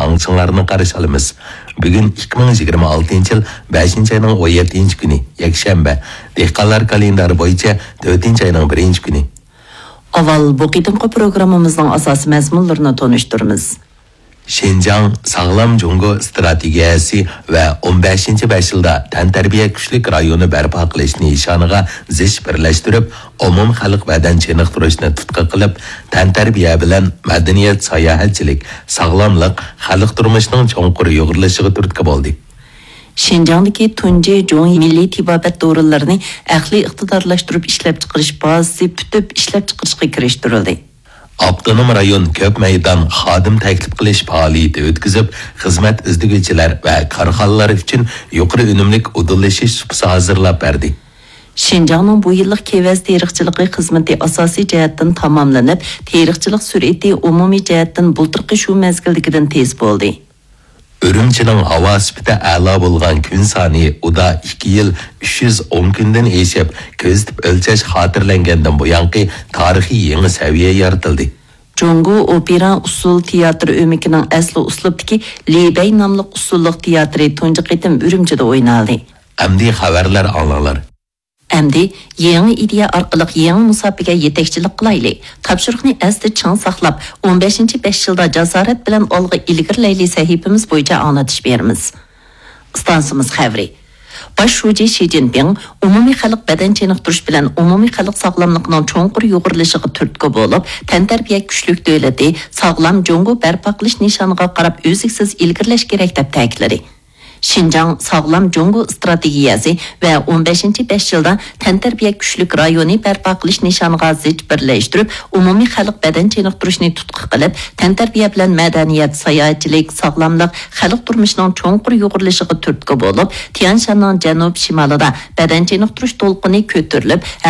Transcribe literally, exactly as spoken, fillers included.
ئاڭلىشىڭلارنى قارشى ئالىمىز. بۈگۈن ئىككى مىڭ يىگىرمە ئالتىنچى يىل بەشىنچى ئاينىڭ ئون يەتتىنچى كۈنى، يەكشەنبە. دېھقانلار كالېندارى بويىچە تۆتىنچى ئاينىڭ بىرىنچى كۈنى. ئاۋۋال بۇ قېتىمقى پروگراممىمىزنىڭ ئاساسىي مەزمۇنلىرىنى تونۇشتۇرىمىز. شىنجاڭ ساغلام جۇڭگو ئىستراتېگىيەسى ۋە ئون بەشىنچى بەش يىلدا تەنتەربىيە كۈچلۈك رايونى بەرپا قىلىش نىشانىغا زىچ بىرلەشتۈرۈپ، ئومۇمخەلق بەدەن چېنىقتۇرۇشنى تۇتقا قىلىپ، تەنتەربىيە بىلەن مەدەنىيەت، ساياھەتچىلىك، ساغلاملىق خەلق تۇرمۇشىنىڭ چوڭقۇر يۇغۇرۇلۇشىغا تۈرتكە بولدى. شىنجاڭدىكى تۇنجى جۇڭيى مىللىي تېبابەت دورىلىرىنى ئەقلىي ئىقتىدارلاشتۇرۇپ ئىشلەپچىقىرىش بازىسى پۈتۈپ ئىشلەپچىقىرىشقا كىرىشتۈرۈلدى. ئاپتونوم رايون كۆپ مەيدان خادىم تەكلىپ قىلىش پائالىيىتى ئۆتكۈزۈپ، خىزمەت ئىزدىگۈچىلەر ۋە كارخانىلار ئۈچۈن يۇقىرى ئۈنۈملۈك ئۇدۇللىشىش سۇپىسى ھازىرلاپ بەردى. شىنجاڭنىڭ بۇ يىللىق كېۋەز تېرىقچىلىقى خىزمىتى ئاساسىي جەھەتتىن تاماملىنىپ، تېرىقچىلىق سۈرئىتى ئومۇمىي جەھەتتىن بۇلتۇرقى شۇ مەزگىلدىكىدىن تېز بولدى. ئۈرۈمچىنىڭ ھاۋا سۈپىتى ئەلا بولغان كۈن سانى ئۇدا ئىككى يىل ئۈچ يۈز ئون كۈندىن ئېشىپ، كۆزىتىپ ئۆلچەش خاتىرىلەنگەندىن بۇيانقى تارىخىي يېڭى سەۋىيە يارىتىلدى. جۇڭگو ئوپېرا ئۇسسۇل تىياتىر ئۆمىكىنىڭ ئەسلى ئۇسلۇبتىكى لى بەي ناملىق ئۇسسۇللۇق تىياتىرى تۇنجى قېتىم ئۈرۈمچىدە ئوينالدى. ئەمدى خەۋەرلەر ئاڭلاڭلار. ئەمدى يېڭى ئىدىيە ئارقىلىق يېڭى مۇساپىگە يېتەكچىلىك قىلايلى. تاپشۇرۇقنى ئەستە چىڭ ساقلاپ، ئون بەشىنچى بەش يىلدا جاسارەت بىلەن ئالغا ئىلگىرىلەيلى سەھىپىمىز بويىچە ئاڭلىتىش بېرىمىز. ئىستانسىمىز خەۋىرى. باش شۇجى شى جىنپىڭ ئومۇمىي خەلق بەدەن چېنىقتۇرۇش بىلەن ئومۇمىي خەلق ساغلاملىقىنىڭ چوڭقۇر يۇغۇرۇلۇشىغا تۈرتكە بولۇپ، تەنتەربىيە كۈچلۈك دۆلىتى، ساغلام جۇڭگو بەرپا قىلىش نىشانىغا قاراپ ئۈزلۈكسىز ئىلگىرىلەش كېرەك، دەپ تەكىتلىدى. شىنجاڭ ساغلام جۇڭگو ئىستراتېگىيەسى ۋە ئون بەشىنچى بەش يىلدا تەنتەربىيە كۈچلۈك رايونى بەرپا قىلىش نىشانىغا زىچ بىرلەشتۈرۈپ، ئومۇمىي خەلق بەدەن چېنىقتۇرۇشنى تۇتقا قىلىپ، تەنتەربىيە بىلەن مەدەنىيەت، ساياھەتچىلىك، ساغلاملىق خەلق تۇرمۇشىنىڭ چوڭقۇر يۇغۇرۇلۇشىغا تۈرتكە بولۇپ، تيەنشاننىڭ جەنۇب شىمالىدا بەدەن چېنىقتۇرۇش دولقۇنى كۆتۈرۈلۈپ،